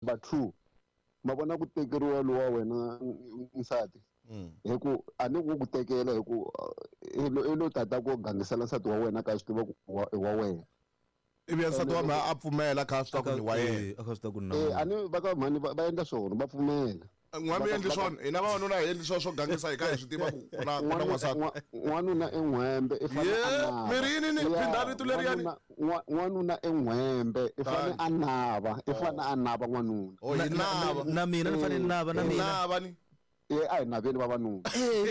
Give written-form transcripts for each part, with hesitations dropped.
Number 2, ma vona ku tekeriwa lowa wena nsati hi ku a ni ku ku tekela hi ku i lo i lo tata ku gangisela nsati wa wena ka swi tiva ku i wa wena. Ivi ya nsati wa mina a pfumela kha swi tiva ku ni wa yena. A kha swi tiva ku ni na Eh, a ni va ka mhani va endla swona va pfumela. N'wa mi endli swona hina vavanuna hi endli swona swo gangisa hi kha hi swi tiva ku ku na ku na n'wansati. N'wanuna i n'hwembe i fane a nava. Mi ri yini ni phindha rito leriyani. N'wanuna i n'hwembe i fane a nava i fane a nava n'wanuna. Oh hi nava. Na mina ni fanele ni nava na Hi mina. nava ni. E a hi naveni vavanuna.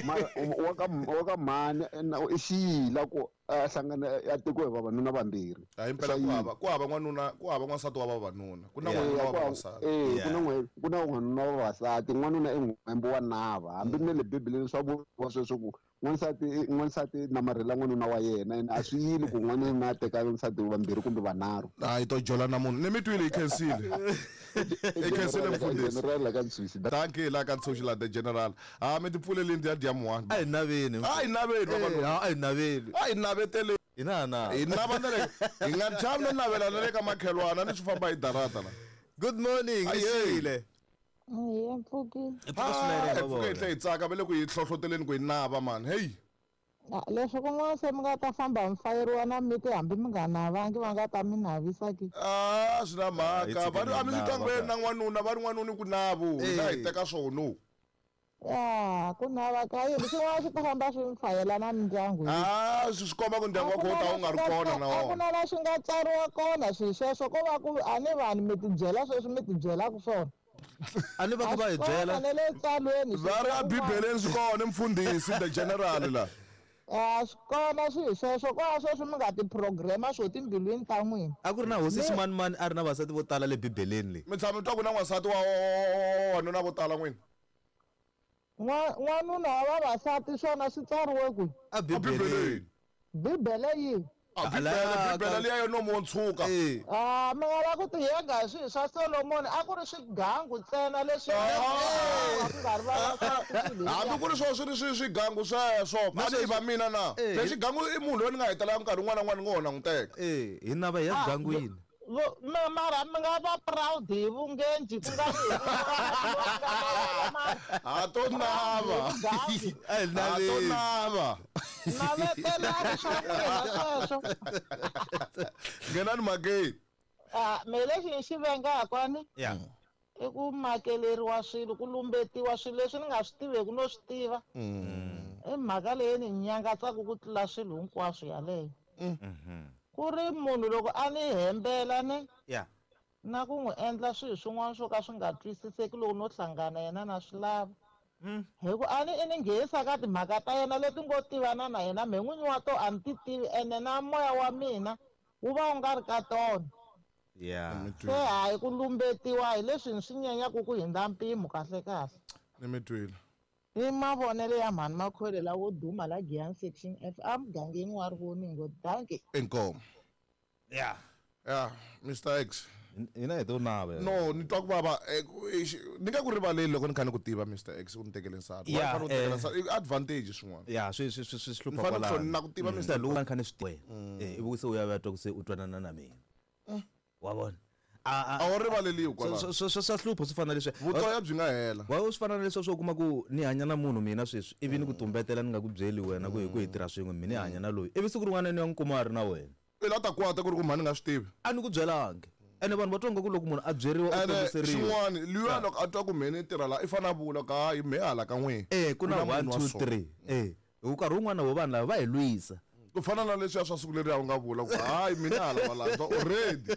Mara wa ka wa ka mhani i xiyila ku a hlangana a tekiwa hi vavanuna vambirhi. Hayi impela ku hava ku hava n'wanuna ku hava n'wansati wa vavanuna ku na n'wanuna wa vavasati. Eh ku na n'we ku na n'wanuna wa vavasati n'wanuna i n'hwembe wa nava hambi na le bibeleni swa vuriwa sweswo ku n'wansati n'wansati namarhela n'wanuna wa yena ene a swi yili ku n'wanuna a teka nsati vambirhi kumbe vanharhu. Hayi to jola na munhu ni mi twile hi khensile hi khensile mfundhisi. General la ka Ntshuxi. Dankie la ka Ntshuxi la the general. Ha mi ti pfulelini ti ya dya muhani. A hi naveni. A hi naveni vavanuna. A hi naveni. A hi naveteleni. Hi na na. Hi nava na le hi nga chavi no navela na le ka makhelwana ni swi famba hi darata la. Good morning, Ayeye. Hi mpfukile. Hi pfuka swinene Hi pfuke hi tlhe hi tsaka va le ku hi hlohloteleni ku hi nava mani. Hey. Leswi kun'wana se mi nga ta famba mi fayeriwa na miti hambi mi nga navangi va nga ta mi navisa ke. Ah, swi na mhaka. Va ri a mi swi twangi va na n'wanuna va ri n'wanuna ku navu. Hina hi teka swono. Ya, ku nava ka yini swin'wana swi ta famba swi mi fayela na mindyangu. Ah, swi swi komba ku ndyangu wa kho ta wu nga ri kona na A ku wona. na la swi nga tsariwa kona swilo sweswo ko va ku a ni vanhu mi tibyela sweswi mi tibyelaka swona. A ni va ku va hi byela. Na le tsalweni. Va ri a Bibeleni swi kona mfundhisi the general la. A swi kona swilo sweswo ko va sweswi mi nga ti-program-a swo timbilwini ta n'wina. A ku ri na hosi ximanimani a ri na vasati vo tala le Bibeleni leyi. Mi tshama mi twa ku na n'wansati wa wanuna vo tala n'wina? N'wanuna wa vavasati swona swi tsariwe kwihi? A Bibeleni. Bibele yihi? A Bibele, Bibele liya yo nomu wo ntshuka. Ah, mi nga la ku tiyenga hi swilo swa Solomoni a ku ri swigangu ntsena leswi a ku nga ri vavasati swilo Hambi ku ri swona swi ri swi swigangu sweswo, a ni va mina na. Se xigangu i munhu loyi ni nga hetelela nkarhi wun'wana na wun'wana ni ngo ho na n'wi teka. Eh, hi nava hi ya swigangwini. Mara mi nga va proud hi vungenji ku nga ri hi Ha to nava. A hi Ha to naveni. nava. Navetelani swa n'wina sweswo. Nghenani mhakeni. Ah, me lexi ni xi vengaka ni Ya. i ku makeleriwa swilo ku lumbetiwa swilo leswi ni nga swi tiveki no swi tiva. I mhaka leyi ni nyangatsaka ku tlula swilo hinkwaswo yaleyo. Ku ri munhu loko a ni hembela ni Ya. na ku n'wi endla swilo swin'wana swo ka swi nga twisiseki loko no hlangana yena na swi lava. Hi ku a ni i ni nghenisa ka timhaka ta yena leti ngo tivana na yena mehe n'winyi wa to a ni ti tivi ene na moya wa mina wu va wu nga ri ka tona. Ya. Se hayi ku lumbetiwa hi leswi ni swi nyenyaka ku hundza mpimo kahle kahle. Ni mi twile. I mavonelo ya mhani Makhwele lawo duma la Giyani section F emugangeni wa Rivoningo. Dankie. Inkomu. Ya. Ya, Mr X. Hina hi to nava. No, ni twa ku vava ni nga ku rivaleli loko ni kha ni ku tiva Mr X u ni tekele nsati. Yeah, Wa fanele u tekela nsati. I advantage swin'wana. Ya, swi swi swi swi Ni hlupha fanele ku kwalano. na ku tiva Mr. Loko ni kha ni swi tiva. Eh, ivi se u ya u ya twa ku se u twanana na mina. Wa vona? A wu rivaleliwi kwalano. Swa hlupha swi fana na leswi. Vutoya byi nga hela. Wa swi fana na leswi swo kuma ku ni hanya na munhu mina sweswi ivi ni ku tumbetela ni nga ku byeli wena ku hi ku hi tirha swin'we mina ni hanya na loyi ivi siku rin'wana ni ya n'wi kuma a ri na wena. I la ta kwata ku ri ku mhani nga swi tivi. A ni ku byelangi. Ene vanhu va twa nga ku loko munhu a byeriwa u Ene tongiseriwa. xin'wana luya loko a twa ku mheni tirha la i fanele a vula ku hayi mhe hala ka n'wina. Eh ku na munhu 1 wa 2 so. 3. Eh hi ku nkarhi wun'wana wo vanhu lava va hi lwisa. Ku fana na leswiya swa siku leriya u nga vula ku hayi mina hala va landza already.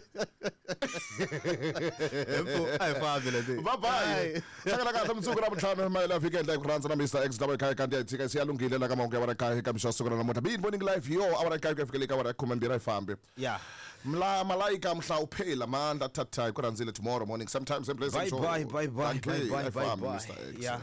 A hi fambi le. Bye bye. Hlangana kahle mundzuku ra vutlhanu mayela vhiki endla hi ku rhandza na Mr X lava kaya kanti ya tshika se ya lunghile la ka mahungu ya wara kaya eka mixo ya siku ra namuntlha. Be morning live yo awara kaya ku ya fikela eka awara ya khume mbirhi a yi fambi. Yeah. Mla malaika mhla uphela mandla thatha hi ku rhandzile tomorrow morning sometime same place Bye same show. bye bye bye Dankie, bye bye a yi bye fambi, bye. Mr X. Yeah.